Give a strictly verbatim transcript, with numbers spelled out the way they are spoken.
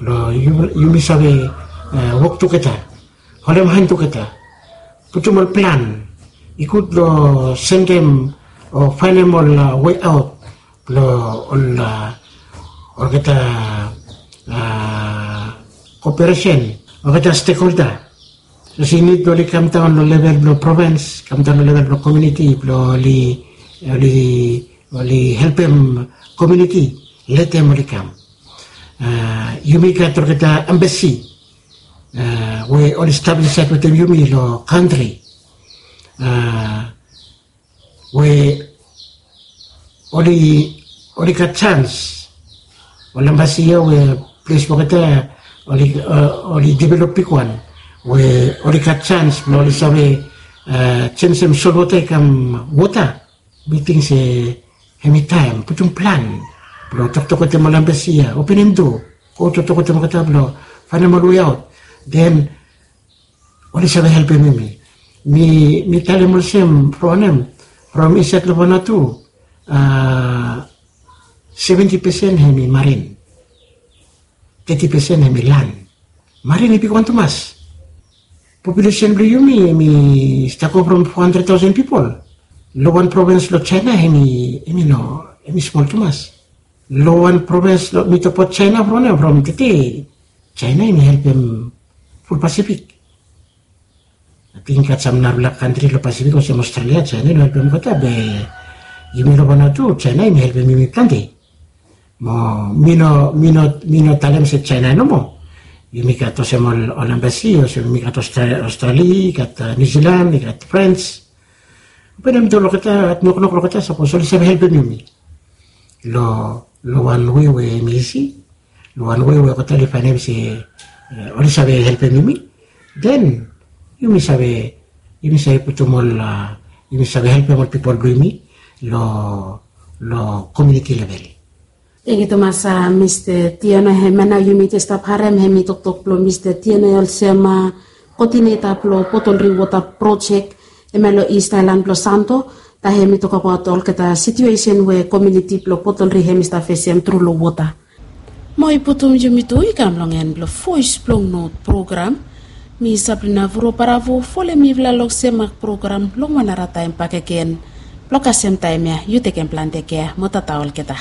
Long yumi save wok tugeta, holem han tugeta, putum ol plan i gud long sendem o faenem ol wei aot blong ol olgeta koperesen, olgeta stekholda. Sapos i nid blong oli kamdaon long level blong provens, kamdaon long level blong komiuniti blong oli oli helpem komiuniti, letem oli kam. Yumi gat olgeta embasi we oli stap insaed wetem yumi long kantri, we oli oli gat sans. Ol embasi ya we ples blong olgeta oli develop bigwan, we oli gat sans blong oli save jenisim solwota i kam wota. Mi ting se hem i taem putum plan blong toktok wetem ol embasi ya, openem doa, go toktok wetem olgeta blong faenem ol wei aot. Den oli save helpem yumi. Mi talem olsem, from wanem, from insaed long Vanuatu, seventi pesen hem i marin, teti pesen hem i lan. Marin i bigwan tumas. Populesen blong yumi hem i stap go from fo handred taosen pipol. Long wan provens long Jaena hem i no, hem i smol tumas. Long wan provens long mi tokbaot Jaena from wanem, from tete, Jaena hem i helpem ful Pasifik. Ating i gat sam narafala kantri long Pasifik olsem Australia, Jaena i no helpem olgeta, be yumi long Vanuatu Jaena hem i helpem yumi plante. Mo mi no mi no mi no talem se Jaena nomo. Yumi gat olsem ol embasi, olsem yumi gat Australia, i gat New Zealand, i gat Frans. Openem doa long olgeta, noknok long olgeta sapos oli save helpem yumi long wan wei we hem i isi, long wan wei we olgeta oli faenem se oli save helpem yumi. Den yumi save, yumi save putum ol, yumi save helpem ol pipol blong yumi long komiuniti level. Tangkiu tumas, Mista Tiano. Hemia nao yumi stap harem hem i toktok blong Mista Tiano olsem, koodineta blong Botol Dring Wota Projek, hemia long East Island blong Santo. Taem hem i tokbaot olgeta situesen we komiuniti blong Botol Dring hem i stap fesem tru long wota. Mo i putum yumi tu i kam long en blong Voes blong Not program. Mi Sabrina Vuro Baravo, folem mifala long Semak program long wan nara taem bakegen. Blong kasem taem ya yu tekem plante kea mo tata olgeta.